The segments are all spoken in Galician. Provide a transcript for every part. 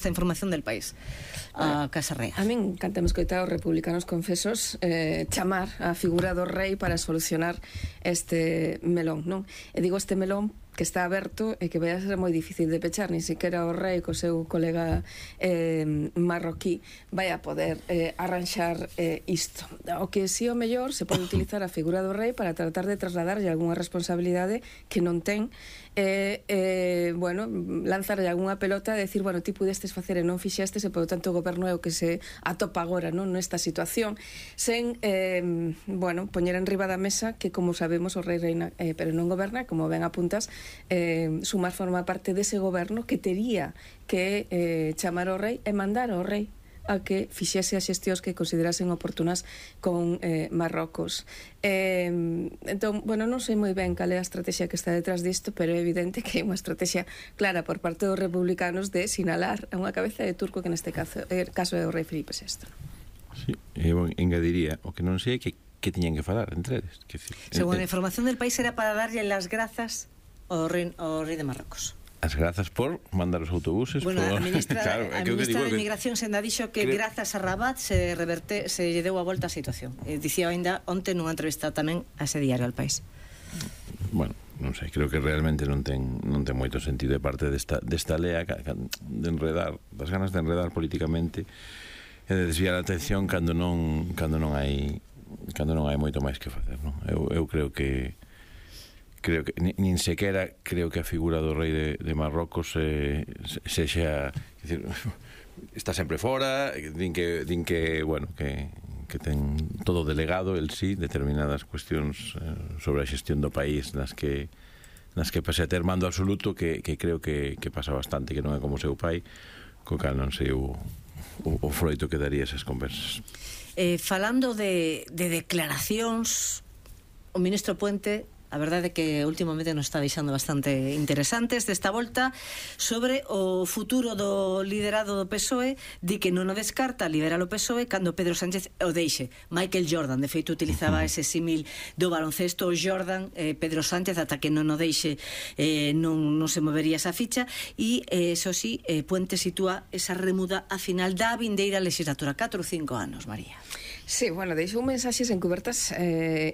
esta información del país a Casa Real. A min cantamos coitado os republicanos confesos chamar a figura do rei para solucionar este melón, non? E digo este melón que está aberto e que vai a ser moi difícil de pechar, ni siquiera o rei co seu colega marroquí vai a poder arranxar isto. O que si o mellor se pode utilizar a figura do rei para tratar de trasladarlle algunha responsabilidade que non ten bueno, lanzarlle algunha pelota e decir, bueno, ti pudestes facer e non fixestes e, por tanto, o goberno é o que se atopa agora, non, nesta situación, sen, bueno, poñer en riba da mesa que, como sabemos, o rei reina, pero non goberna, como ben apuntas, Sumar forma parte dese goberno que tería que chamar ao rei e mandar ao rei a que fixese as xestións que considerasen oportunas con Marrocos. Entón, bueno, non sei moi ben cal é a estrategia que está detrás disto, pero é evidente que é unha estrategia clara por parte dos republicanos de sinalar a unha cabeza de turco que neste caso é o rei Filipe VI. Sí, eu engadiría, o que non sei é que tiñan que falar entre eles. Según a información del país era para darlle las grazas ao rei de Marrocos. As grazas por mandar os autobuses. Bueno, por... a ministra, claro, a ministra de Inmigración senda dixo que grazas a Rabat se lle deu a volta a situación. Dicía ainda onte nunha entrevista tamén a ese diario al país. Bueno, non sei, creo que realmente non ten moito sentido de parte desta lea de enredar, das ganas de enredar políticamente e de desviar a atención cando non hai moito máis que facer, non? Eu creo que nin sequera creo que a figura do rei de Marrocos sexa, decir, está sempre fora, din que bueno, que ten todo delegado el sí, determinadas cuestións sobre a xestión do país nas que pase a ter mando absoluto, que creo que pasa bastante, que non é como o seu pai, co cal non sei o froito que daría esas conversas. Falando de declaracións, o ministro Puente, a verdade é que últimamente nos está deixando bastante interesantes desta volta sobre o futuro do liderado do PSOE. Di que non o descarta liderar o PSOE cando Pedro Sánchez o deixe. Michael Jordan, de feito, utilizaba ese símil do baloncesto. O Jordan, Pedro Sánchez, ata que non o deixe non se movería esa ficha. E, eso sí, Puente sitúa esa remuda a final da vindeira legislatura. 4 ou 5 anos, María. Sí, bueno, deixou mensaxes encubertas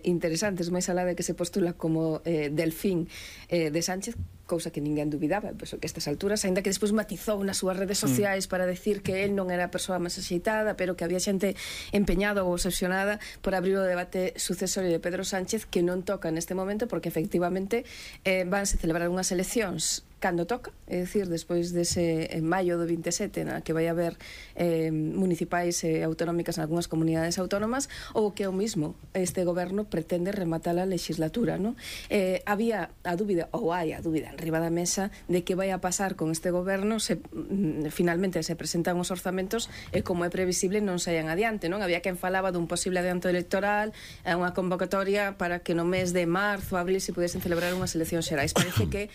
interesantes, máis alá de que se postula como delfín de Sánchez, cousa que ninguén dubidaba, penso que a estas alturas, aínda que despois matizou nas súas redes sociais para decir que el non era a persoa máis axeitada, pero que había xente empeñada ou obsesionada por abrir o debate sucesorio de Pedro Sánchez, que non toca neste momento, porque efectivamente vanse celebrar unhas eleccións cando toca, é dicir, despois dese en maio do 27, na que vai haber municipais e autonómicas en algunhas comunidades autónomas, ou que o mismo este goberno pretende rematar a legislatura, non? Había a dúbida, ou hai a dúbida en riba da mesa, de que vai a pasar con este goberno se finalmente se presentan os orzamentos e, como é previsible, non saian adiante, non? Había quen falaba dun posible adianto electoral, unha convocatoria para que no mes de marzo, abril, se pudesen celebrar unhas eleccións xerais. Parece que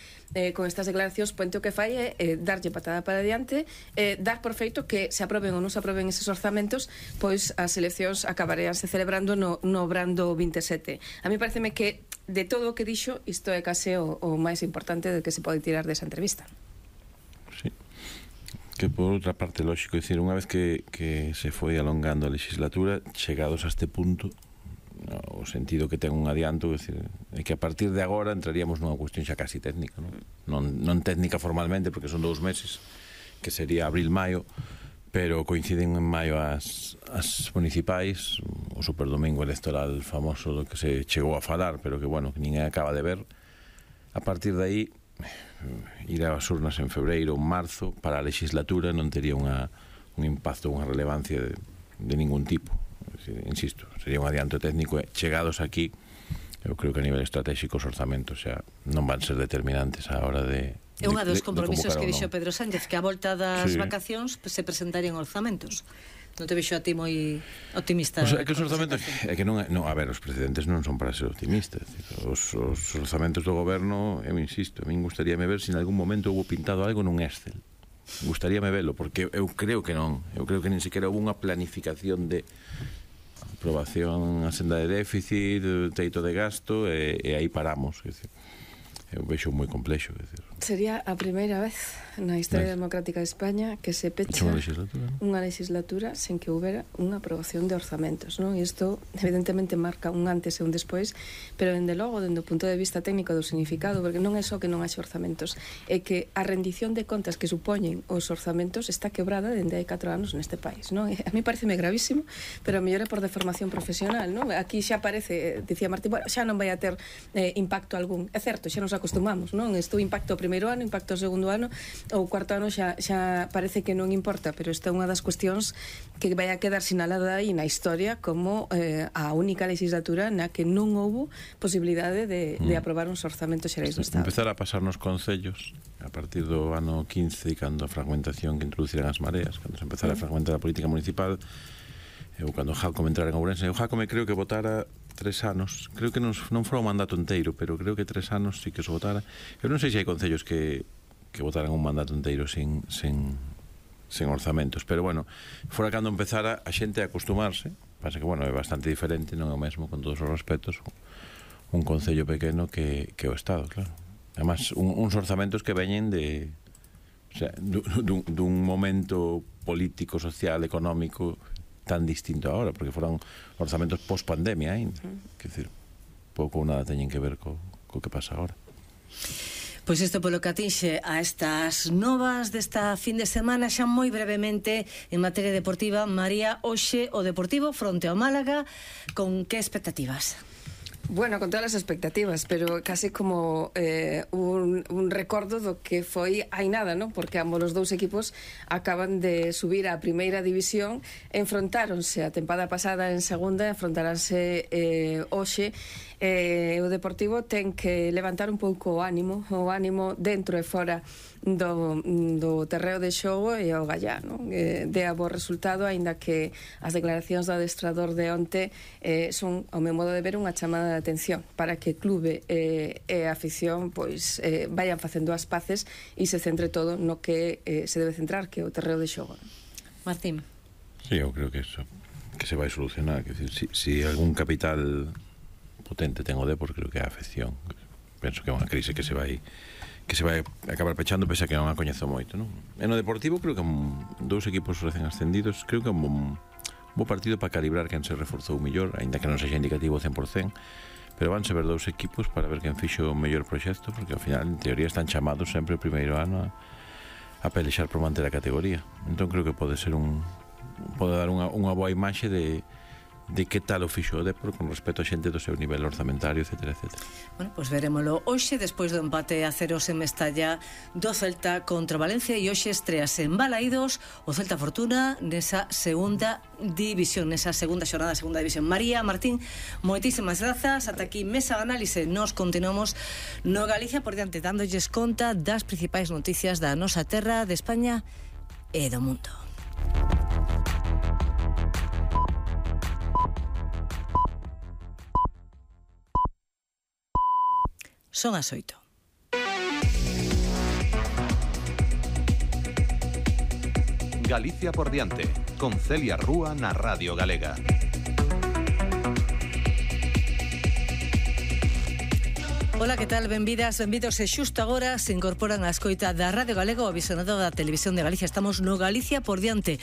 con estas declaracións Puente o que fai é darlle patada para adiante, dar por feito que se aproben ou non se aproben eses orzamentos, pois as eleccións acabaríanse celebrando no brando 27. A mí pareceme que de todo o que dixo, isto é case o máis importante de que se pode tirar desa entrevista. Sí. Que por outra parte, lógico, decir, unha vez que se foi alongando a legislatura, chegados a este punto, o sentido que ten un adianto, é que a partir de agora entraríamos nunha cuestión xa casi técnica, non técnica formalmente, porque son 2 meses, que sería abril-maio, pero coinciden en maio as municipais, o superdomingo electoral famoso do que se chegou a falar, pero que, bueno, que ninguén acaba de ver. A partir de aí, ir ás urnas en febreiro ou marzo, para a legislatura non tería un impacto, unha relevancia de ningún tipo. Insisto, sería un adianto técnico. Chegados aquí, eu creo que a nivel estratégico os orzamentos xa non van ser determinantes á hora de é unha dos compromisos que dixo Pedro Sánchez, que a volta das vacacións se presentarían orzamentos. Non te vexo a ti moi optimista? É que os orzamentos, é que non, a ver, os precedentes non son para ser optimistas. Os orzamentos do goberno, eu insisto, a min gustaríame ver se en algún momento houve pintado algo nun Excel. Gustaríame velo, porque eu creo que non. Eu creo que nin sequera houve unha planificación de aprobación a senda de déficit, teito de gasto, e aí paramos. Eu vexo moi complexo. Sería a primeira vez na historia democrática de España que se pecha unha legislatura sen que houbera unha aprobación de orzamentos, non? E isto evidentemente marca un antes e un despois, pero dende logo, dende o punto de vista técnico do significado, porque non é só que non haxe orzamentos, é que a rendición de contas que supoñen os orzamentos está quebrada dende hai 4 anos neste país, non? A mí pareceme gravísimo, pero a mellor é por deformación profesional, non? Aquí xa parece, dicía Martín, bueno, xa non vai a ter impacto algún. É certo, xa nos acostumamos, non? Isto impacto ao primeiro ano, impacto ao segundo ano, ou cuarto ano xa parece que non importa, pero esta é unha das cuestións que vai a quedar sinalada aí na historia como a única legislatura na que non houbo posibilidade de aprobar uns orzamentos xerais do Estado. Empezar a pasar nos concellos a partir do ano 15, cando a fragmentación que introduciran as mareas, cando se empezara a fragmentar a política municipal, ou cando Jácome entrara en Ourense. O Jácome creo que votara 3 anos, creo que non fora un mandato inteiro, pero creo que 3 anos sí que se votara. Eu non sei se hai concellos que votaran un mandato inteiro sin orzamentos, pero bueno, fora cando empezara a xente a acostumarse. Pasa que, bueno, é bastante diferente, non é o mesmo, con todos os respetos, un concello pequeno que o Estado, claro. Además, uns orzamentos que veñen de, o sea, dun momento político, social, económico tan distinto agora, porque foron orzamentos post-pandemia ainda. Quer dizer, pouco ou nada teñen que ver co que pasa agora. Pois isto polo que atinxe a estas novas desta fin de semana, xa moi brevemente en materia deportiva. María, hoxe o Deportivo fronte ao Málaga, con que expectativas? Bueno, con todas as expectativas, pero casi como un recordo do que foi hai nada, non? Porque ambos os dous equipos acaban de subir á primeira división, enfrontáronse a tempada pasada en segunda, enfrontaranse hoxe. O Deportivo ten que levantar un pouco o ánimo dentro e fora do terreo de xogo e o gallá, non? De a bo resultado, aínda que as declaracións do adestrador de onte son, ao meu modo de ver, unha chamada de atención para que clube e a afición pois vayan facendo as paces e se centre todo no que se debe centrar, que é o terreo de xogo. Martín. Sí, eu creo que eso que se vai solucionar, que si algún capital potente ten o Depor, creo que é a afección. Penso que é unha crise que se vai acabar pechando, pese a que non a coñezo moito, non? E no Deportivo creo que dous equipos recén ascendidos, creo que é un bo partido para calibrar quen se reforzou mellor, aínda que non sexa indicativo 100%, pero vanse ver dous equipos para ver quen fixo o mellor proxecto, porque ao final, en teoría, están chamados sempre o primeiro ano a pelexar por manter a categoría. Entón creo que pode dar unha boa imaxe de que tal o fixo o Depor con respecto a xente do seu nivel orzamentario, etc. Bueno, pois verémolo hoxe, despois do empate a 0 en Mestalla do Celta contra Valencia, e hoxe estrease en Balaídos o Celta Fortuna nesa segunda división, nesa segunda xornada da segunda división. María, Martín, moitísimas grazas. Ata aquí Mesa de Análise. Nos continuamos no Galicia por diante, dándolles conta das principais noticias da nosa terra, de España e do mundo. Son as 8. Galicia por diante, con Celia Rúa na Radio Galega. Ola, que tal? Benvidas, benvidos. E xusto agora se incorporan a escoita da Radio Galega o visionado da Televisión de Galicia. Estamos no Galicia por diante,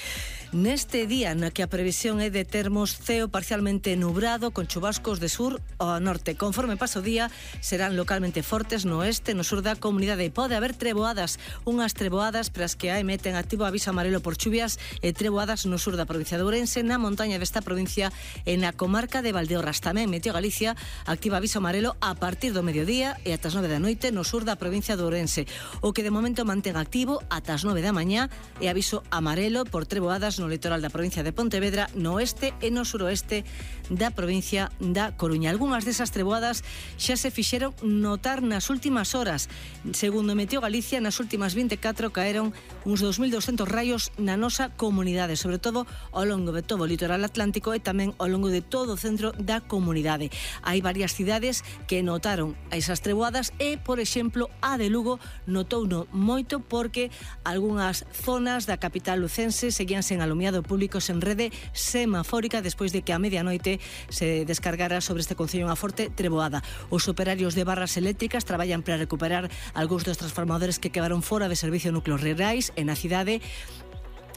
neste día na que a previsión é de termos ceo parcialmente nubrado, con chubascos de sur ao norte. Conforme paso o día, serán localmente fortes no oeste, no sur da comunidade, e pode haber treboadas, unhas treboadas para as que hai meten activo aviso amarelo por chuvias e treboadas no sur da provincia de Ourense, na montaña desta provincia e na comarca de Valdeorras. Tamén Meteo Galicia activa aviso amarelo a partir do mediodía e ata as 9 da noite no sur da provincia de Ourense. O que de momento mantén activo ata as 9 da mañá é aviso amarelo por treboadas no litoral da provincia de Pontevedra, no oeste e no suroeste da provincia da Coruña. Algunhas desas treboadas xa se fixeron notar nas últimas horas. Segundo Meteo Galicia, nas últimas 24 caeron uns 2.200 raios na nosa comunidade, sobre todo ao longo de todo o litoral atlántico e tamén ao longo de todo o centro da comunidade. Hai varias cidades que notaron esas treboadas e, por exemplo, a de Lugo notouno moito porque algunhas zonas da capital lucense seguían sen alumiado público sen rede semafórica despois de que a medianoite se descargara sobre este concello unha forte treboada. Os operarios de barras eléctricas traballan para recuperar algúns dos transformadores que quedaron fora de servicio núcleos rurais e na cidade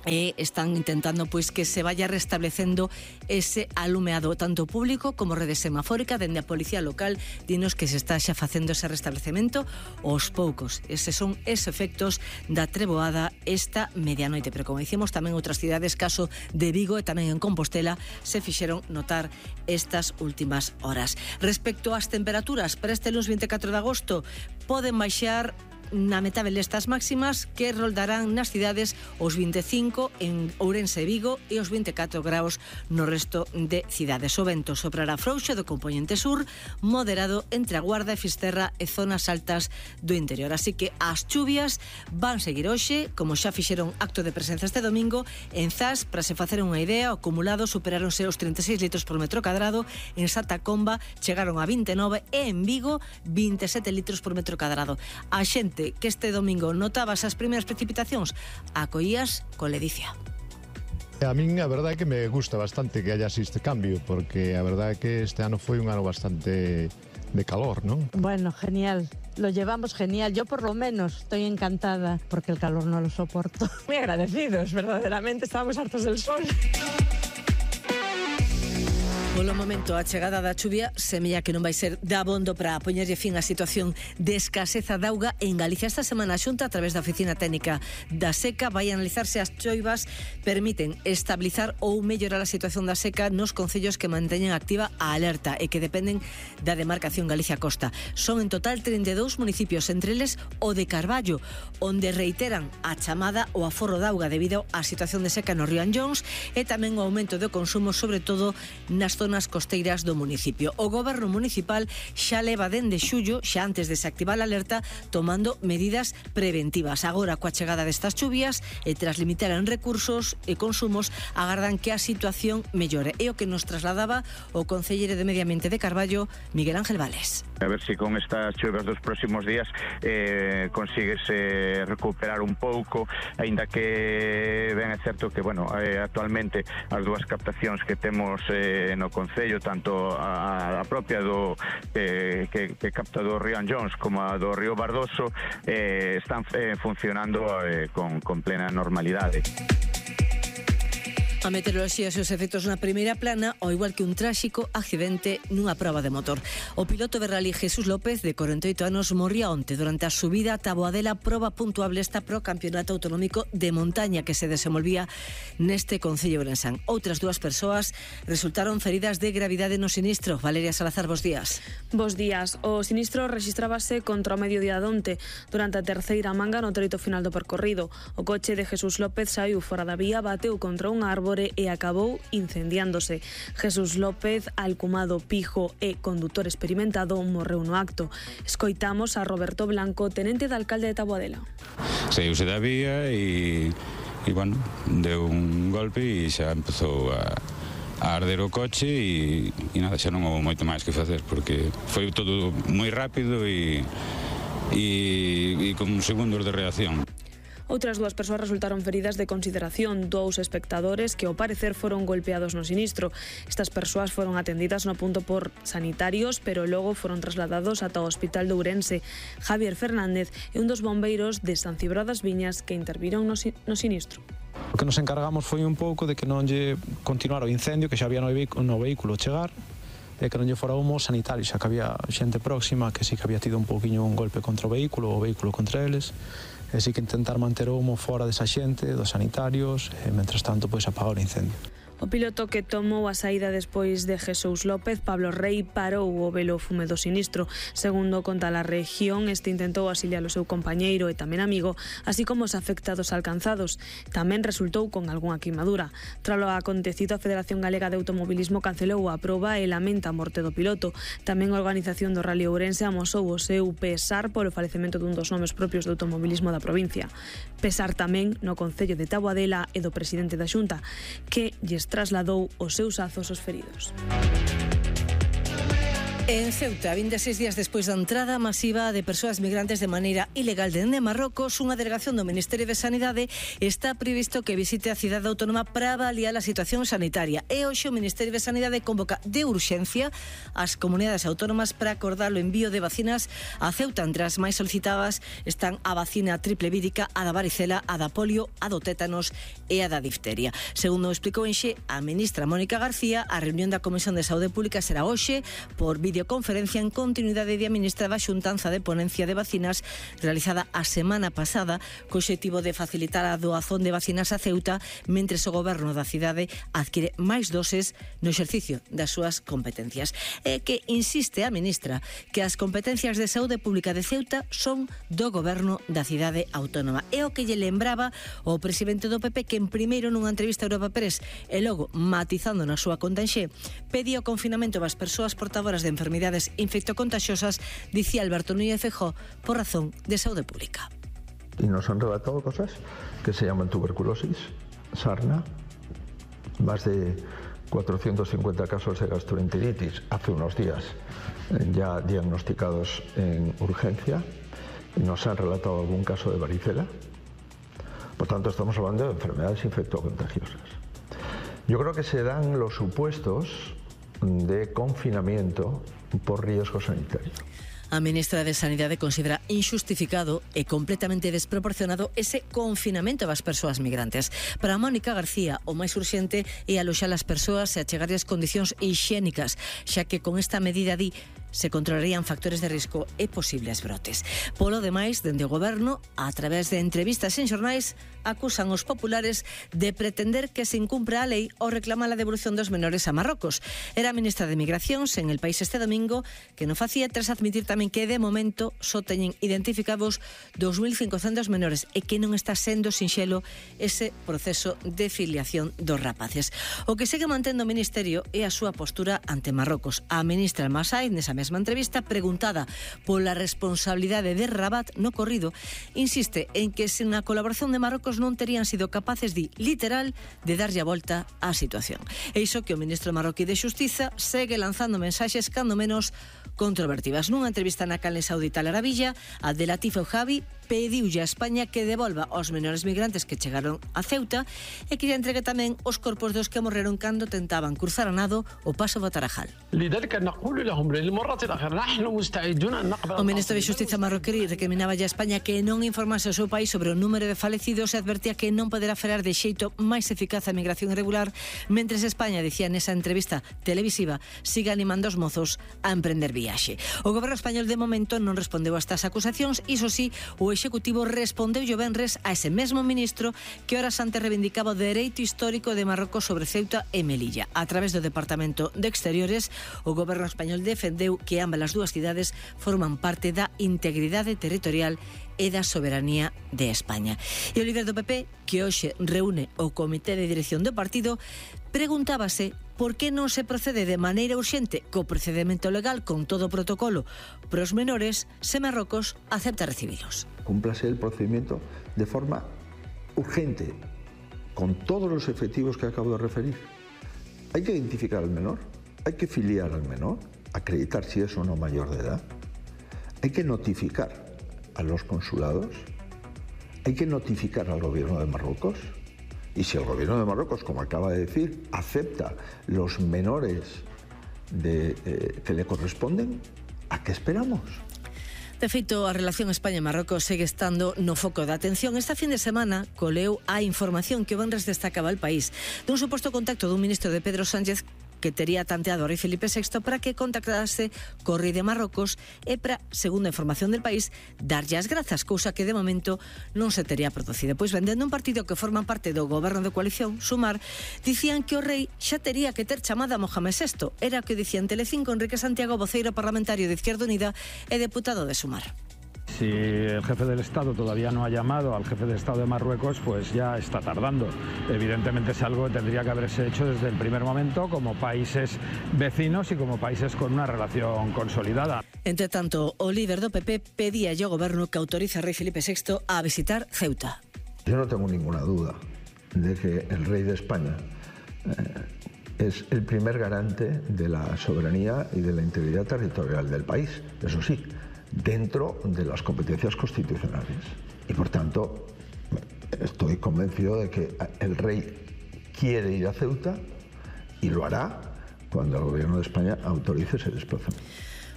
e están intentando pois que se vaya restablecendo ese alumeado tanto público como rede semafórica. Dende a policía local dinos que se está xa facendo ese restablecemento aos poucos. Eses son os efectos da treboada esta medianoite, pero como dicimos tamén outras cidades, caso de Vigo e tamén en Compostela, se fixeron notar estas últimas horas. Respecto ás temperaturas, para este lunes 24 de agosto poden baixar na metade destas máximas que roldarán nas cidades os 25 en Ourense e Vigo e os 24 graus no resto de cidades. O vento soprará frouxo do compoñente sur, moderado entre a Guarda e Fisterra e zonas altas do interior. Así que as chuvias van seguir hoxe, como xa fixeron acto de presenza este domingo. En Zas, para se facer unha idea, o acumulado superáronse os 36 litros por metro cadrado, en Santa Comba chegaron a 29 e en Vigo 27 litros por metro cadrado. A xente que este domingo notaba esas primeiras precipitacións, acoías con ledicia. A min a verdade é que me gusta bastante que haya este cambio, porque a verdade é que este ano foi un ano bastante de calor, ¿no? Bueno, genial. Lo llevamos genial. Yo por lo menos estoy encantada porque el calor no lo soporto. Muy agradecidos, verdaderamente. Estábamos hartos del sol. Polo momento, a chegada da chuvia semella que non vai ser dabondo para poñerlle fin á situación de escaseza de auga en Galicia. Esta semana a Xunta, a través da Oficina Técnica da Seca, vai analizar se as choivas permiten estabilizar ou mellorar a situación da seca nos concellos que manteñen activa a alerta e que dependen da demarcación Galicia Costa. Son en total 32 municipios, entre eles o de Carballo, onde reiteran a chamada o aforro de auga debido á situación de seca no río Anllóns e tamén o aumento do consumo, sobre todo nas zonas costeiras do municipio. O goberno municipal xa leva dende xullo, xa antes de se activar a alerta, tomando medidas preventivas. Agora, coa chegada destas chuvias e tras limitar en recursos e consumos, agardan que a situación mellore. É o que nos trasladaba o concelleiro de Medio Ambiente de Carballo, Miguel Ángel Vales. A ver se con estas chuvas dos próximos días consigues recuperar un pouco, aínda que ben é certo que, bueno, actualmente as dúas captacións que temos no concello, tanto a propia do que capta do río Anllóns como a do río Bardoso, están funcionando con plena normalidade. A meteoroloxía e os efectos na primeira plana, ao igual que un tráxico accidente nunha proba de motor. O piloto de rally Jesús López, de 48 anos, morría onte durante a subida a Taboadela, proba puntuable esta pro campeonato autonómico de montaña que se desenvolvía neste concello ourensán. Outras dúas persoas resultaron feridas de gravidade no sinistro. Valeria Salazar, bos días. Bos días. O sinistro rexistrábase contra o mediodía de onte, durante a terceira manga no treito final do percorrido. O coche de Jesús López saiu fora da vía, bateu contra un árbore e acabou incendiándose. Jesús López, alcumado Pijo e condutor experimentado, morreu no acto. Escoitamos a Roberto Blanco, tenente de alcalde de Taboadela. Saíuse da vía e bueno, deu un golpe e xa empezou a arder o coche e nada, xa non houve moito máis que facer porque foi todo moi rápido e con segundos de reacción. Outras dúas persoas resultaron feridas de consideración, dous espectadores que ao parecer foron golpeados no sinistro. Estas persoas foron atendidas no punto por sanitarios, pero logo foron trasladados ata o Hospital de Ourense. Javier Fernández é un dos bombeiros de San Cibrao das Viñas que interviron no sinistro. O que nos encargamos foi un pouco de que non lle continuara o incendio que xa había no vehículo chegar, e que non lle fora humo sanitario, xa que había xente próxima que sí que había tido un pouquiño un golpe contra o vehículo contra eles, e sí que intentar manter o humo fora desa xente, dos sanitarios, e mentras tanto pois apagar o incendio. O piloto que tomou a saída despois de Jesús López, Pablo Rey, parou o velo fume do sinistro. Segundo conta a región, este intentou auxiliar o seu compañeiro e tamén amigo, así como os afectados alcanzados. Tamén resultou con algunha queimadura. Tralo acontecido, a Federación Galega de Automobilismo cancelou a proba e lamenta a morte do piloto. Tamén a organización do Rally Ourense amosou o seu pesar polo falecemento dun dos nomes propios do automobilismo da provincia. Pesar tamén no concello de Taboadela e do presidente da Xunta, que lles trasladou os seus azos aos feridos. En Ceuta, 26 días despois da entrada masiva de persoas migrantes de maneira ilegal dende Marrocos, unha delegación do Ministerio de Sanidade está previsto que visite a cidade autónoma para avaliar a situación sanitaria. E hoxe o Ministerio de Sanidade convoca de urxencia as comunidades autónomas para acordar o envío de vacinas a Ceuta. Entre as máis solicitadas están a vacina triple vírica, a da varicela, a da polio, a do tétanos e a da difteria. Segundo explicou enxe a ministra Mónica García, a reunión da Comisión de Saúde Pública será hoxe por videoconferencia en continuidade de administrada xuntanza de ponencia de vacinas realizada a semana pasada co obxectivo de facilitar a doazón de vacinas a Ceuta mentres o goberno da cidade adquire máis doses no exercicio das súas competencias. E que insiste a ministra que as competencias de saúde pública de Ceuta son do goberno da cidade autónoma. É o que lle lembraba o presidente do PP, que en primeiro nunha entrevista a Europa Press e logo matizando na súa conta en Xe pedía o confinamento das persoas portadoras de enfermidades infectocontagiosas, dicía Alberto Núñez Feijóo, por razón de saúde pública. Y nos han relatado cosas que se llaman tuberculosis, sarna, más de 450 casos de gastroenteritis hace unos días ya diagnosticados en urgencia, y nos han relatado algún caso de varicela. Por tanto, estamos hablando de enfermedades infectocontagiosas. Yo creo que se dan los supuestos de confinamiento por riesgo sanitario. A ministra de Sanidade considera injustificado e completamente desproporcionado ese confinamento das persoas migrantes. Para Mónica García, o máis urxente é aloxar as persoas e achegar as condicións hixiénicas, xa que con esta medida se controlarían factores de risco e posibles brotes. Polo demais, dende o goberno, a través de entrevistas en xornais, acusan os populares de pretender que se incumpra a lei ou reclama a devolución dos menores a Marrocos. Era a ministra de Migracións en El País este domingo, que non facía tras admitir tamén que de momento só teñen identificados 2.500 menores e que non está sendo sinxelo ese proceso de filiación dos rapaces. O que segue mantendo o Ministerio é a súa postura ante Marrocos. A ministra Almasai, nesa mesma entrevista, preguntada pola responsabilidade de Rabat no corrido, insiste en que sen a colaboración de Marrocos non terían sido capaces literal de darlle a volta á situación. E iso que o ministro marroquí de Xustiza segue lanzando mensaxes cando menos controvertidas. Nunha entrevista na canle saudita Al Arabiya, Abdelatif Javi pediulle a España que devolva aos menores migrantes que chegaron a Ceuta e que lle entregue tamén os corpos dos que morreron cando tentaban cruzar a nado o paso do Tarajal. O ministro de Xustiza marroquí recriminaba a España que non informase ao seu país sobre o número de falecidos e advertía que non poderá frear de xeito máis eficaz a migración irregular, mentres España, dicía nesa entrevista televisiva, siga animando os mozos a emprender viaxe. O goberno español de momento non respondeu a estas acusacións, iso sí, o Executivo respondeu o venres a ese mesmo ministro que horas antes reivindicaba o dereito histórico de Marrocos sobre Ceuta e Melilla. A través do Departamento de Exteriores, o goberno español defendeu que ambas as dúas cidades forman parte da integridade territorial e da soberanía de España. E o líder do PP, que hoxe reúne o comité de dirección do partido, preguntábase por que non se procede de maneira urxente co procedimento legal con todo o protocolo pros menores se Marrocos acepta recibilos. Cúmplase el procedimiento de forma urgente, con todos los efectivos que acabo de referir. Hay que identificar al menor, hay que filiar al menor, acreditar si es o no mayor de edad, hay que notificar a los consulados, hay que notificar al gobierno de Marruecos, y si el gobierno de Marruecos, como acaba de decir, acepta los menores que le corresponden, ¿a qué esperamos? De feito, a relación España-Marrocos segue estando no foco da atención. Esta fin de semana coleu a información que o venres destacaba El País dun suposto contacto dun ministro de Pedro Sánchez que tería tanteado a rei Felipe VI para que contactase co rei de Marrocos e para, segundo a información del País, darlle as grazas, cousa que de momento non se tería producido. Pois vendendo un partido que forma parte do goberno de coalición, Sumar, dicían que o rei xa tería que ter chamada a Mohamed VI. Era o que dicía en Telecinco Enrique Santiago, voceiro parlamentario de Izquierda Unida e deputado de Sumar. Si el jefe del Estado todavía no ha llamado al jefe de Estado de Marruecos, pues ya está tardando. Evidentemente es algo que tendría que haberse hecho desde el primer momento como países vecinos y como países con una relación consolidada. Entre tanto, o líder do PP pedía ao goberno que autorice a rei Felipe VI a visitar Ceuta. Yo no tengo ninguna duda de que el rey de España es el primer garante de la soberanía y de la integridad territorial del país, eso sí, dentro de las competencias constitucionales. Y por tanto, estoy convencido de que el rey quiere ir a Ceuta y lo hará cuando el Gobierno de España autorice ese desplazamiento.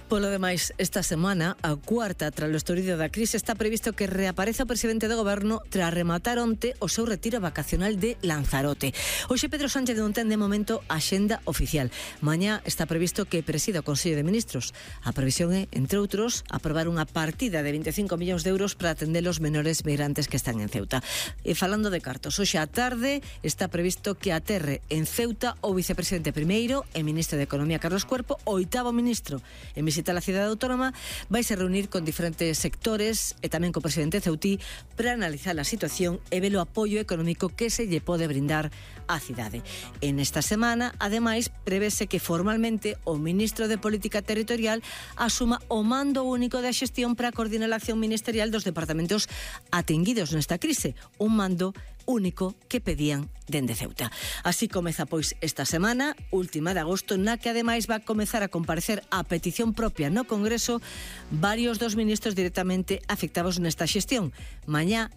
Polo demais, esta semana, a cuarta tras o estorido da crise, está previsto que reapareza o presidente do goberno tras rematar onte o seu retiro vacacional de Lanzarote. Hoxe Pedro Sánchez non ten de momento axenda oficial. Mañá está previsto que presida o Consello de Ministros. A previsión é, entre outros, aprobar unha partida de 25 millóns de euros para atender os menores migrantes que están en Ceuta. E falando de cartos, hoxe á tarde está previsto que aterre en Ceuta o vicepresidente primeiro e ministro de Economía Carlos Cuerpo, o oitavo ministro en visita a la cidade autónoma, vais a reunir con diferentes sectores e tamén co presidente ceutí para analizar a situación e ver o apoio económico que se lle pode brindar á cidade. En esta semana, ademais, prevese que formalmente o ministro de Política Territorial asuma o mando único da xestión para coordinar a acción ministerial dos departamentos atenguidos nesta crise, un mando único que pedían dende Ceuta. Así comeza, pois, esta semana, última de agosto, na que ademais va a comezar a comparecer a petición propia no Congreso varios dos ministros directamente afectados nesta xestión. Mañá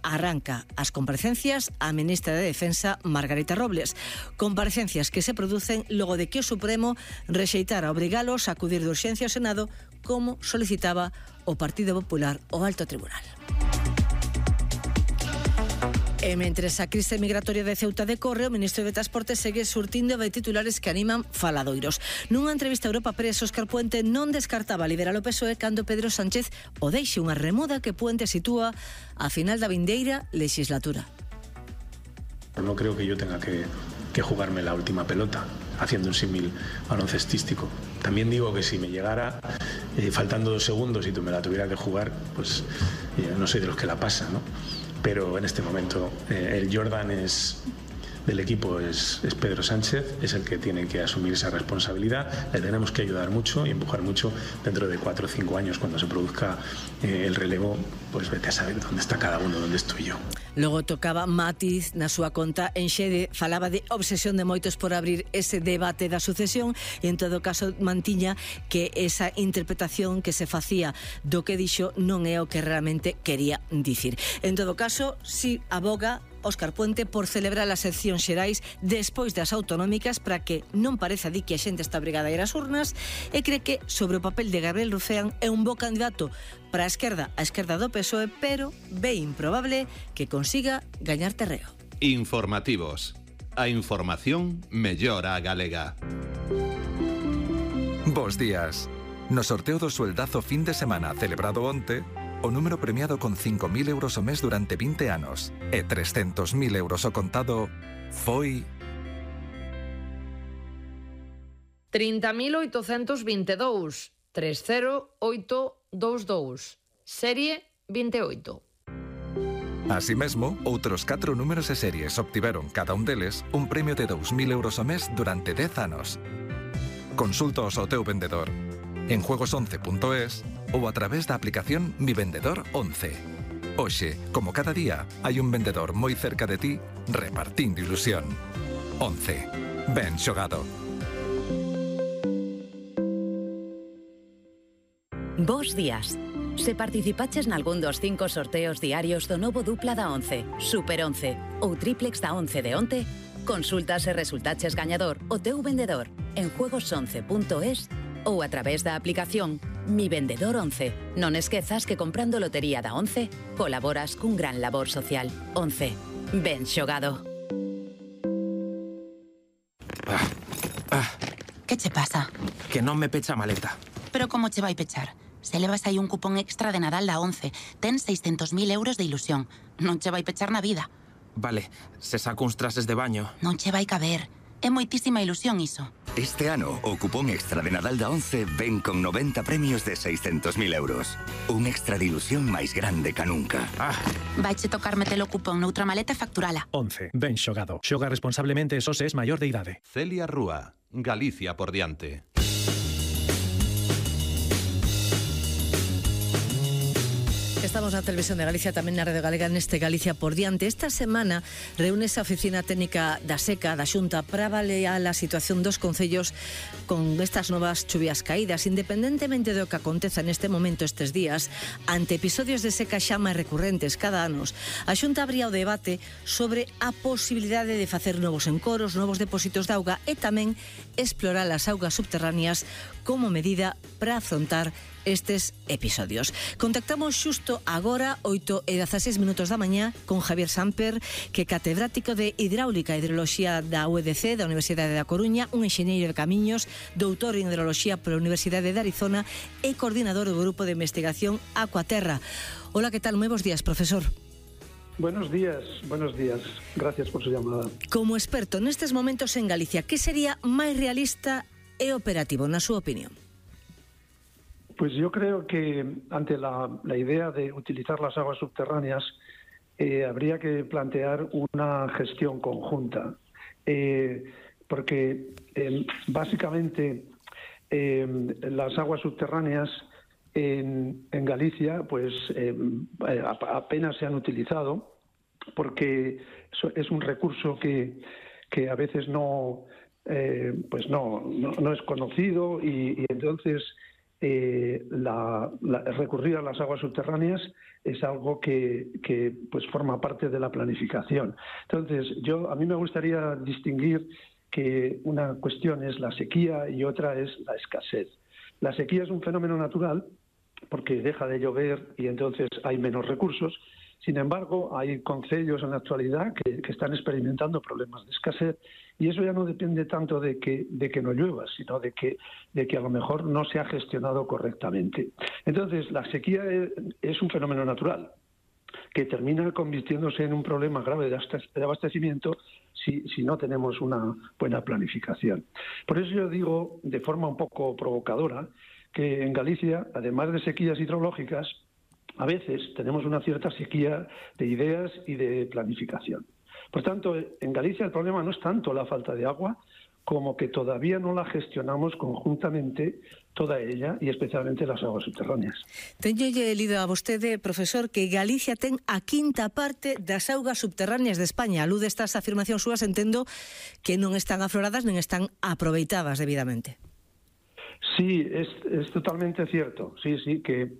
arranca as comparecencias a ministra de Defensa, Margarita Robles. Comparecencias que se producen logo de que o Supremo rexeitara obrigalos a acudir de urxencia ao Senado, como solicitaba o Partido Popular ao Alto Tribunal. E mentres a crise migratoria de Ceuta decorre, o ministro de Transporte segue surtindo de titulares que animan faladoiros. Nunha entrevista a Europa Press, Óscar Puente non descartaba liberar o PSOE cando Pedro Sánchez o deixe, unha remuda que Puente sitúa a final da vindeira legislatura. No creo que yo tenga que jugarme la última pelota, haciendo un símil baloncestístico. También digo que si me llegara faltando 2 segundos y tú me la tuviera que jugar, pues no soy de los que la pasa, ¿no? Pero en este momento el Jordan del equipo es Pedro Sánchez, es el que tiene que asumir esa responsabilidad. Le tenemos que ayudar mucho y empujar mucho. Dentro de 4 o 5 años, cuando se produzca el relevo, pues vete a saber dónde está cada uno, dónde estoy yo. Logo tocaba matiz na súa conta en Xede, falaba de obsesión de moitos por abrir ese debate da sucesión e en todo caso mantiña que esa interpretación que se facía do que dixo non é o que realmente quería dicir. En todo caso, si aboga Óscar Puente por celebrar as eleccións xerais despois das autonómicas para que non pareza di que a xente está obrigada a ir ás urnas, e cree que sobre o papel de Gabriel Rufián é un bo candidato para a esquerda do PSOE, pero ve improbable que consiga gañar terreo. Informativos. A información mellora a galega. Bos días. No sorteo do sueldazo fin de semana celebrado onte, o número premiado con 5.000 euros o mes durante 20 anos e 300.000 euros o contado foi 30.822 30822, serie 28. Así mesmo, outros 4 números e series obtiveron cada un deles un premio de 2.000 euros o mes durante 10 anos. Consulta ao teu vendedor en juegos11.es ou a través da aplicación Mi Vendedor 11. Hoxe, como cada día, hai un vendedor moi cerca de ti repartindo ilusión. 11. Ben xogado. Bos días. Se participaches nalgún dos 5 sorteos diarios do novo dupla da 11, Super 11 ou triplex da 11 de onte, consulta se resultaches gañador o teu vendedor en juegos11.es ou a través da aplicación Mi Vendedor 11. Non esquezas que comprando lotería da 11 colaboras cun gran labor social. 11. Ben xogado. Que che pasa? Que non me pecha a maleta. Pero como che vai pechar? Se levas aí un cupón extra de Nadal da 11, ten 600.000 euros de ilusión. Non che vai pechar na vida. Vale, se saco uns trases de baño. Non che vai caber. É moitísima ilusión iso. Este ano, o cupón extra de Nadal da 11 ven con 90 premios de 600.000 euros. Un extra de ilusión máis grande ca nunca. Vaiche tocar metelo o cupón noutra maleta e facturala. 11. Ben xogado. Xoga responsablemente e só se es maior de idade. Celia Rúa, Galicia por diante. Estamos na Televisión de Galicia, tamén na Radio Galega, neste Galicia por diante. Esta semana reúnese a Oficina Técnica da Seca da Xunta para avaliar a situación dos concellos con estas novas chuvias caídas, independentemente do que aconteza neste momento estes días, ante episodios de seca xa máis recurrentes cada ano. A Xunta abría o debate sobre a posibilidade de facer novos encoros, novos depósitos de auga e tamén explorar as augas subterráneas como medida para afrontar estes episodios. Contactamos xusto agora, 8:16 da mañá, con Javier Samper, que é catedrático de Hidráulica e Hidroloxía da UEDC, da Universidade da Coruña, un enxeñeiro de camiños, doutor en Hidroloxía pola Universidade de Arizona e coordinador do Grupo de Investigación Aquaterra. Hola, que tal? Moi bons días, profesor. Buenos días. Gracias por su llamada. Como experto nestes momentos en Galicia, que sería máis realista e operativo, na súa opinión? Pues yo creo que ante la idea de utilizar las aguas subterráneas habría que plantear una gestión conjunta, porque básicamente las aguas subterráneas en Galicia pues apenas se han utilizado, porque es un recurso que a veces no es conocido y entonces recurrir a las aguas subterráneas es algo que pues forma parte de la planificación. Entonces, a mí me gustaría distinguir que una cuestión es la sequía y otra es la escasez. La sequía es un fenómeno natural porque deja de llover y entonces hay menos recursos. Sin embargo, hay concellos en la actualidad que están experimentando problemas de escasez y eso ya no depende tanto de que no llueva, sino de que a lo mejor no se ha gestionado correctamente. Entonces, la sequía es un fenómeno natural que termina convirtiéndose en un problema grave de abastecimiento si no tenemos una buena planificación. Por eso yo digo, de forma un poco provocadora, que en Galicia, además de sequías hidrológicas, a veces tenemos una cierta sequía de ideas y de planificación. Por tanto, en Galicia el problema no es tanto la falta de agua como que todavía no la gestionamos conjuntamente toda ella y especialmente las aguas subterráneas. Teñolle lido a vostede, profesor, que Galicia ten a quinta parte das augas subterráneas de España. A luz destas afirmacións súas entendo que non están afloradas nen están aproveitadas debidamente. Sí, es totalmente cierto. Sí, que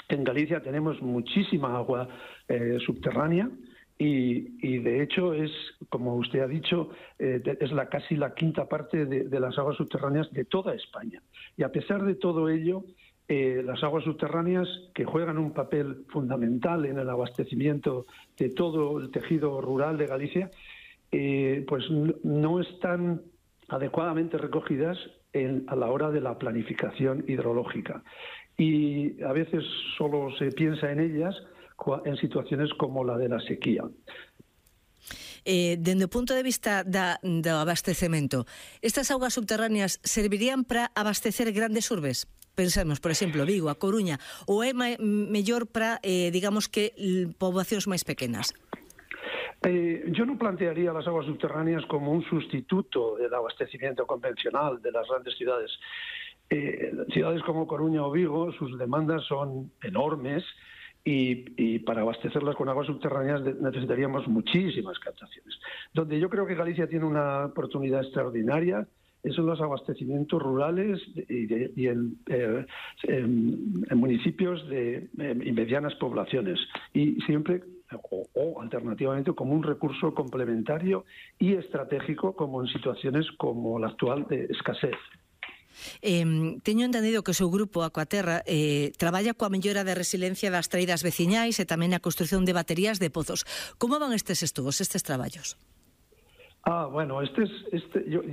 en Galicia tenemos muchísima agua subterránea y de hecho es, como usted ha dicho, es casi la quinta parte de las aguas subterráneas de toda España. Y a pesar de todo ello, las aguas subterráneas, que juegan un papel fundamental en el abastecimiento de todo el tejido rural de Galicia, pues no están adecuadamente recogidas a la hora de la planificación hidrológica. Y a veces solo se piensa en ellas en situaciones como la de la sequía. Dende o punto de vista do abastecemento, estas augas subterráneas servirían para abastecer grandes urbes? Pensemos, por exemplo, Vigo, a Coruña, ou é mellor para, digamos que, poboacións máis pequenas? Yo no plantearía las aguas subterráneas como un sustituto del abastecimiento convencional de las grandes ciudades. Ciudades como Coruña o Vigo, sus demandas son enormes y para abastecerlas con aguas subterráneas necesitaríamos muchísimas captaciones. Donde yo creo que Galicia tiene una oportunidad extraordinaria son los abastecimientos rurales y en municipios y medianas poblaciones, y siempre o alternativamente como un recurso complementario y estratégico, como en situaciones como la actual de escasez. Teño entendido que o seu grupo Aquaterra traballa coa mellora de resiliencia das traídas veciñais e tamén a construción de baterías de pozos. Como van estes estudos, estes traballos? Bueno,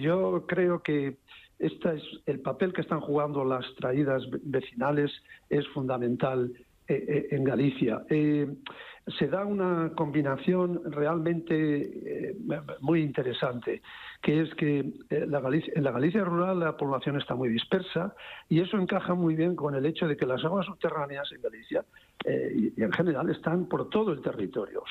yo creo que el papel que están jugando las traídas vecinales es fundamental en Galicia. Se da una combinación realmente muy interesante, que es que en la Galicia rural la población está muy dispersa y eso encaja muy bien con el hecho de que las aguas subterráneas en Galicia y en general están por todo el territorio.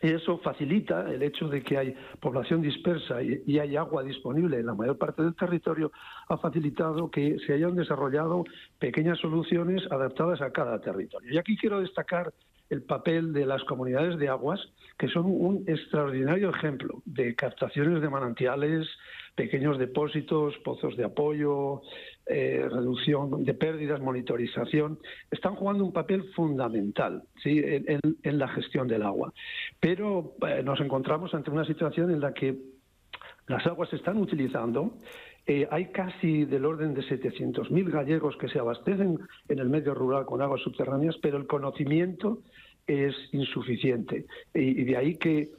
Eso facilita el hecho de que hay población dispersa y hay agua disponible en la mayor parte del territorio, ha facilitado que se hayan desarrollado pequeñas soluciones adaptadas a cada territorio. Y aquí quiero destacar el papel de las comunidades de aguas, que son un extraordinario ejemplo de captaciones de manantiales, pequeños depósitos, pozos de apoyo, reducción de pérdidas, monitorización. Están jugando un papel fundamental, ¿sí?, en la gestión del agua. Pero nos encontramos ante una situación en la que las aguas se están utilizando. Hay casi del orden de 700.000 gallegos que se abastecen en el medio rural con aguas subterráneas, pero el conocimiento es insuficiente. Y de ahí que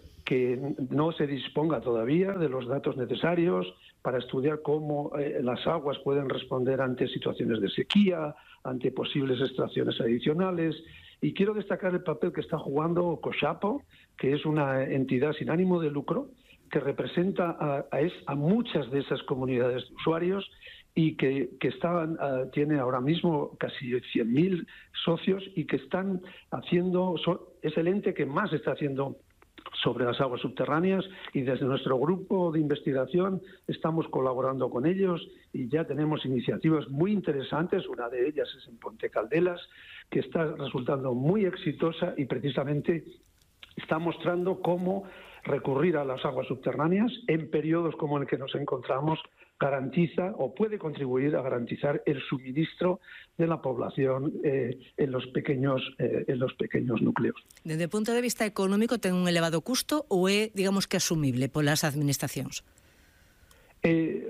no se disponga todavía de los datos necesarios para estudiar cómo las aguas pueden responder ante situaciones de sequía, ante posibles extracciones adicionales. Y quiero destacar el papel que está jugando Coxapo, que es una entidad sin ánimo de lucro, que representa a muchas de esas comunidades de usuarios y que tiene ahora mismo casi 100.000 socios y que están haciendo, es el ente que más está haciendo sobre las aguas subterráneas, y desde nuestro grupo de investigación estamos colaborando con ellos y ya tenemos iniciativas muy interesantes. Una de ellas es en Ponte Caldelas, que está resultando muy exitosa y precisamente está mostrando cómo recurrir a las aguas subterráneas en periodos como el que nos encontramos garantiza o puede contribuir a garantizar el suministro de la población en los pequeños núcleos. Desde o punto de vista económico, ten un elevado custo ou é, digamos que, asumible polas administracións?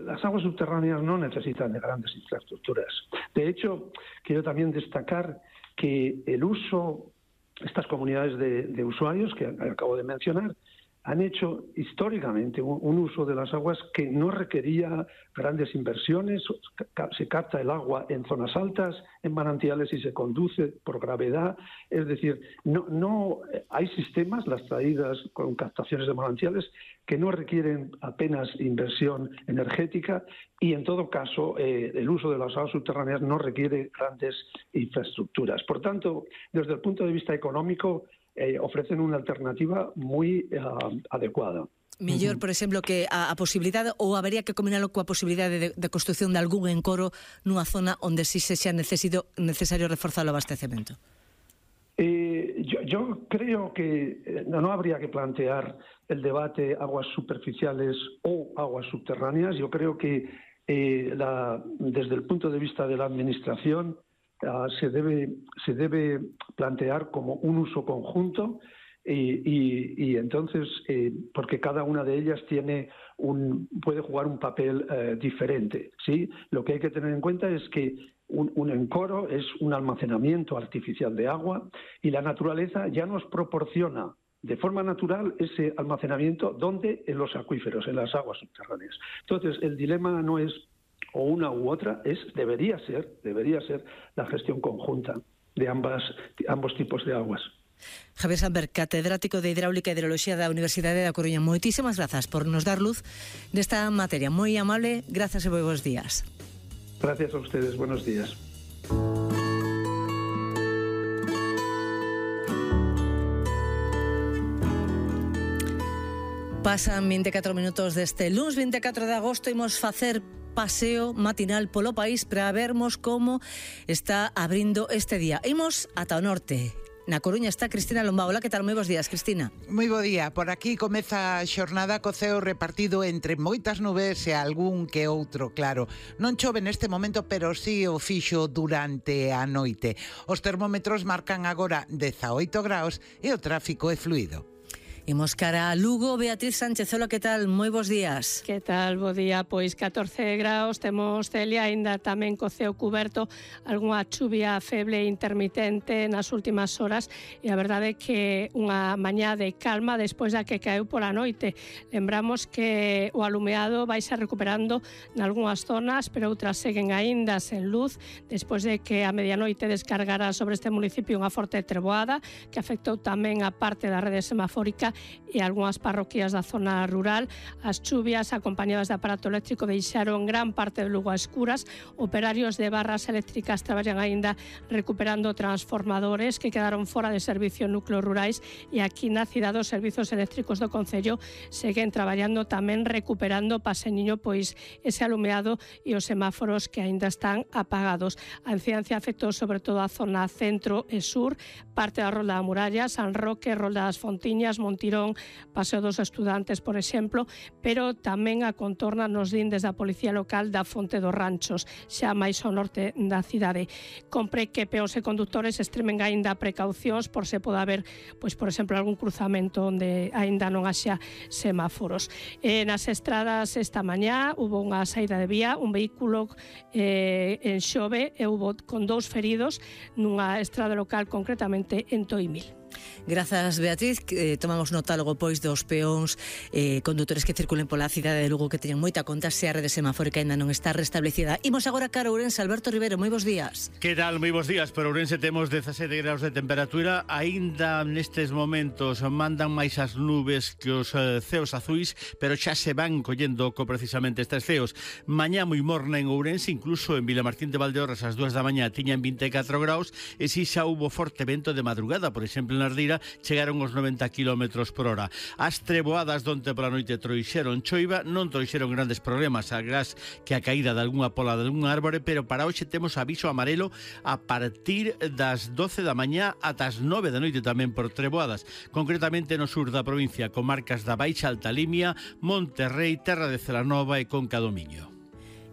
Las aguas subterráneas no necesitan de grandes infraestructuras. De hecho, quiero también destacar que el uso, estas comunidades de usuarios que acabo de mencionar, han hecho históricamente un uso de las aguas que no requería grandes inversiones. Se capta el agua en zonas altas, en manantiales, y se conduce por gravedad. Es decir, no hay sistemas, las traídas con captaciones de manantiales, que no requieren apenas inversión energética, y en todo caso el uso de las aguas subterráneas no requiere grandes infraestructuras. Por tanto, desde el punto de vista económico, ofrecen unha alternativa moi adecuada. Mellor, por exemplo, que a posibilidade, ou habería que combinalo coa posibilidade de construción de algún encoro nunha zona onde si se xa necesario reforzar o abastecemento? Yo creo que no habría que plantear el debate aguas superficiales o aguas subterráneas. Yo creo que desde el punto de vista de la administración se debe plantear como un uso conjunto y entonces porque cada una de ellas puede jugar un papel diferente, ¿sí? Lo que hay que tener en cuenta es que un encoro es un almacenamiento artificial de agua, y la naturaleza ya nos proporciona de forma natural ese almacenamiento donde en los acuíferos, en las aguas subterráneas. Entonces el dilema no es o una u otra, debería ser la gestión conjunta de ambos tipos de aguas. Javier Samper, catedrático de Hidráulica e Hidroloxía da Universidade da Coruña, moitísimas grazas por nos dar luz desta materia. Moi amable, grazas e moi bons días. Gracias a ustedes, buenos días. Pasan 24 minutos deste luns 24 de agosto. Imos facer paseo matinal polo país para vermos como está abrindo este día. Imos ata o norte. Na Coruña está Cristina Lombao. Hola, que tal? Moi bons días, Cristina. Moi bo día. Por aquí comeza a xornada co ceo repartido entre moitas nubes e algún que outro, claro. Non chove neste momento, pero sí o fixo durante a noite. Os termómetros marcan agora 18 graus e o tráfico é fluido. Imos cara a Lugo. Beatriz Sánchez, hola, que tal? Moi bons días. Que tal? Bo día, pois 14 graus, temos Celia, aínda tamén co ceo cuberto, algunha chuvia feble intermitente nas últimas horas, e a verdade é que unha mañá de calma despois da que caeu pola noite. Lembramos que o alumeado vai se recuperando nalgúnas zonas, pero outras seguen aínda sen luz, despois de que a medianoite descargara sobre este municipio unha forte treboada que afectou tamén a parte da rede semafórica e algunhas parroquias da zona rural. As chuvias acompañadas de aparato eléctrico deixaron gran parte de Lugo a escuras. Operarios de barras eléctricas traballan aínda recuperando transformadores que quedaron fora de servicio en núcleos rurais, e aquí na cidade os servizos eléctricos do Concello seguen traballando tamén recuperando paseniño pois ese alumeado e os semáforos que aínda están apagados. A incidencia afectou sobre todo a zona centro e sur, parte da Rolda da Muralla, San Roque, Rolda das Fontiñas, Montirón, Paseo dos Estudantes, por exemplo, pero tamén a contorna nos din desde a Policía Local da Fonte dos Ranchos, xa máis ao norte da cidade. Compre que peóns e condutores extremen aínda precaucións por se pode haber, pois, por exemplo, algún cruzamento onde aínda non haxa semáforos. Nas estradas esta mañá hubo unha saída de vía, un vehículo en Xove e hubo con 2 feridos nunha estrada local, concretamente en Toimil. Grazas, Beatriz. Tomamos nota logo pois dos peóns condutores que circulen pola cidade de Lugo que teñen moita conta se a rede semafórica ainda non está restablecida. Imos agora cara a Ourense. Alberto Rivero, moi bons días. Que tal? Moi bons días. Por Ourense temos 17 graus de temperatura. Aínda nestes momentos mandan máis as nubes que os ceos azuis, pero xa se van collendo precisamente estes ceos. Mañá moi morna en Ourense, incluso en Vilamartín de Valdeorras ás 2 da mañá tiñan 24 graus e si xa hubo forte vento de madrugada, por exemplo, en Ardira chegaron os 90 km por hora. As treboadas donte pola noite trouxeron choiva, non trouxeron grandes problemas, agás que a caída de algunha pola de algún árbore, pero para hoxe temos aviso amarelo a partir das 12 da mañá ata as 9 da noite tamén por treboadas, concretamente no sur da provincia, comarcas da Baixa Alta Limia, Monterrei, Terra de Celanova e Conca do Miño.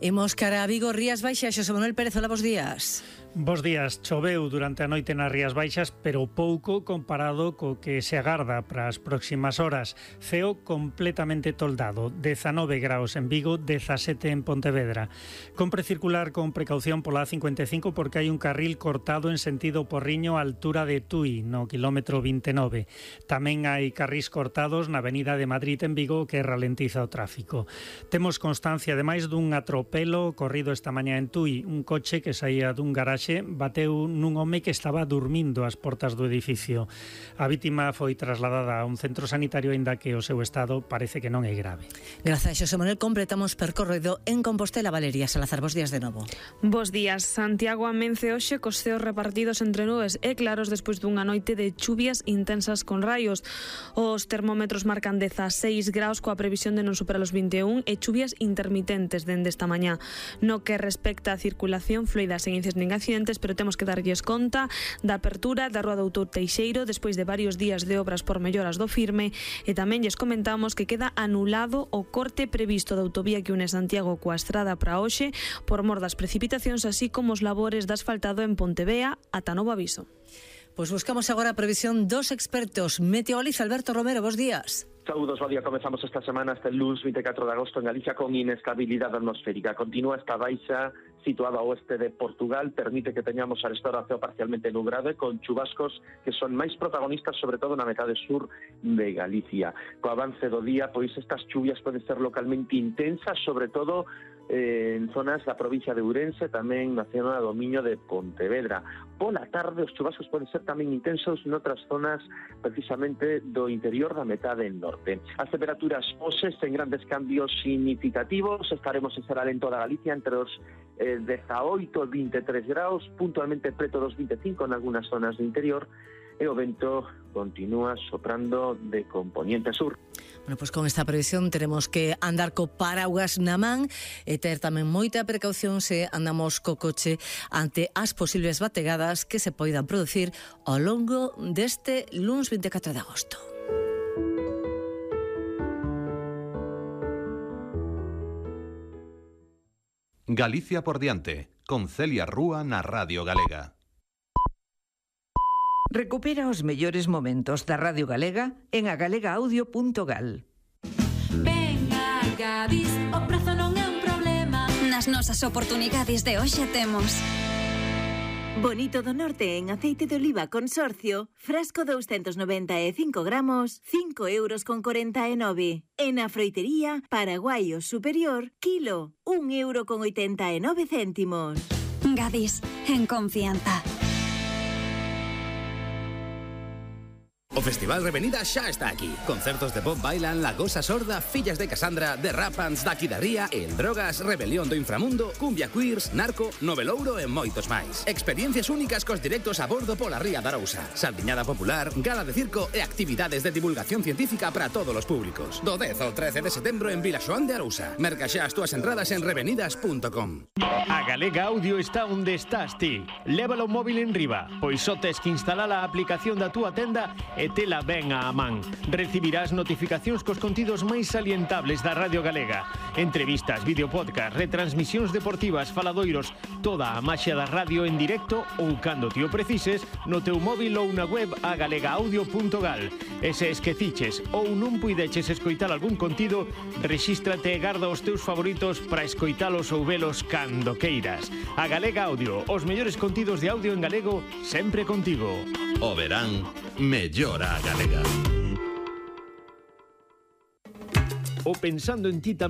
Imos cara a Vigo, Rías Baixas. Xosé Manuel Pérez, hola, bos días. Bos días. Choveu durante a noite nas Rías Baixas, pero pouco comparado co que se agarda para as próximas horas. Ceo completamente toldado, 19 graus en Vigo, 17 en Pontevedra. Compre circular con precaución pola A55 porque hai un carril cortado en sentido Porriño á altura de Tui, no kilómetro 29. Tamén hai carrís cortados na Avenida de Madrid en Vigo que ralentiza o tráfico. Temos constancia ademais dun atropelo ocorrido esta mañá en Tui. Un coche que saía dun garaxe bateu nun home que estaba dormindo ás portas do edificio. A vítima foi trasladada a un centro sanitario, aínda que o seu estado parece que non é grave. Grazas, Xosé Manuel. Completamos percorrido en Compostela. Valeria Salazar, bos días de novo. Bos días. Santiago amence hoxe cos ceos repartidos entre nubes e claros despois dunha noite de chuvias intensas con raios. Os termómetros marcan 16 graus coa previsión de non superar os 21 e chuvias intermitentes dende esta mañá. No que respecta a circulación fluida, sen incidentes nin accidentes, pero temos que darlles conta da apertura da Rúa do Doutor Teixeiro despois de varios días de obras por melloras do firme, e tamén lles comentamos que queda anulado o corte previsto da autovía que une Santiago coa estrada para hoxe por mor das precipitacións, así como os labores de asfaltado en Pontevea ata novo aviso. Pois buscamos agora a previsión dos expertos. Meteoroliza Alberto Romero, bos días. Saúdos, bo día. Comezamos esta semana hasta el lunes 24 de agosto en Galicia con inestabilidade atmosférica. Continúa esta baixa situada ao oeste de Portugal, permite que teñamos a restaura ceo parcialmente nublado con chubascos que son máis protagonistas sobre todo na metade sur de Galicia. Co avance do día, pois estas chuvias poden ser localmente intensas, sobre todo en zonas da provincia de Ourense, tamén na zona do Miño de Pontevedra. Pola tarde os chubascos poden ser tamén intensos noutras zonas precisamente do interior da metade norte. As temperaturas hoxe sen grandes cambios significativos, estaremos en será en toda Galicia entre os 18 e 23 graus, puntualmente preto dos 25 en algunhas zonas do interior, e o vento continúa soprando de componente sur. Bueno, pois con esta previsión teremos que andar co paraugas na man e ter tamén moita precaución se andamos co coche ante as posibles bategadas que se poidan producir ao longo deste luns 24 de agosto. Galicia por diante, con Celia Rúa na Radio Galega. Recupera os mellores momentos da Radio Galega en agalegaudio.gal. Venga, Gadis, o prazo non é un problema. Nas nosas oportunidades de hoxe temos Bonito do Norte en aceite de oliva consorcio, frasco 295 gramos, 5,49 €. En a froitería, Paraguaio Superior, kilo, 1,89 €. Gadis, en confianza. O Festival Revenida xa está aquí. Concertos de Bob Bailan, La Gosa Sorda, Fillas de Cassandra, The Rapans, Daqui da Ría, El Drogas, Rebelión do Inframundo, Cumbia Queers, Narco, Novelouro e moitos máis. Experiencias únicas cos directos a bordo pola Ría da Arousa. Saldiñada popular, gala de circo e actividades de divulgación científica para todos os públicos. Do 10 ao 13 de setembro en Vilaxoán de Arousa. Merca xa as túas entradas en revenidas.com. A Galega Audio está onde estás ti. Lévalo móvil en riba, pois só tes que instalar a aplicación da túa tenda e tela ben á man. Recibirás notificacións cos contidos máis salientables da Radio Galega. Entrevistas, videopodcast, retransmisións deportivas, faladoiros, toda a maxia da radio en directo ou cando te o precises no teu móvil ou na web agalegaudio.gal. E se esqueciches ou non puideches escoitar algún contido, rexístrate e garda os teus favoritos para escoitalos ou velos cando queiras. A Galega Audio, os mellores contidos de audio en galego, sempre contigo. O verán mellora a galega. O pensando en ti tamén